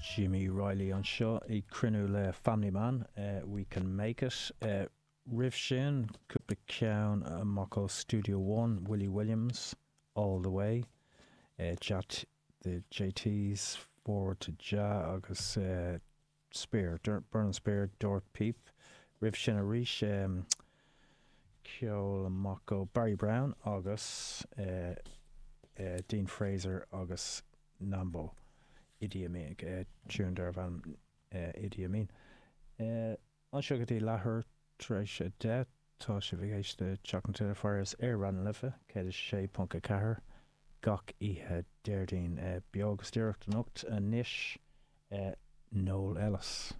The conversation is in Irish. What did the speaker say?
Jimmy Reilly anseo ag cruinniú le Family Man, We Can Make It. Roimh sin, cúpla ceann amach ó Studio One, Willie Williams, All The Way, Jat, The JTs, Forward To Jah agus Spear, Burning Spear, Dord Píp. Roimh sin arís, ceol amach ó Barry Brown agus Dean Fraser agus Nambo, Idi Amin, tune darbh ainm Idi Amin. Anseo go dtí leathuair tar éis 10, tá sibh ag éisteacht le Teach na Tine Fires ar Raidió na Life 106.4 gach oíche Déardaoin. Beo agus díreach anocht anois, Noel Ellis.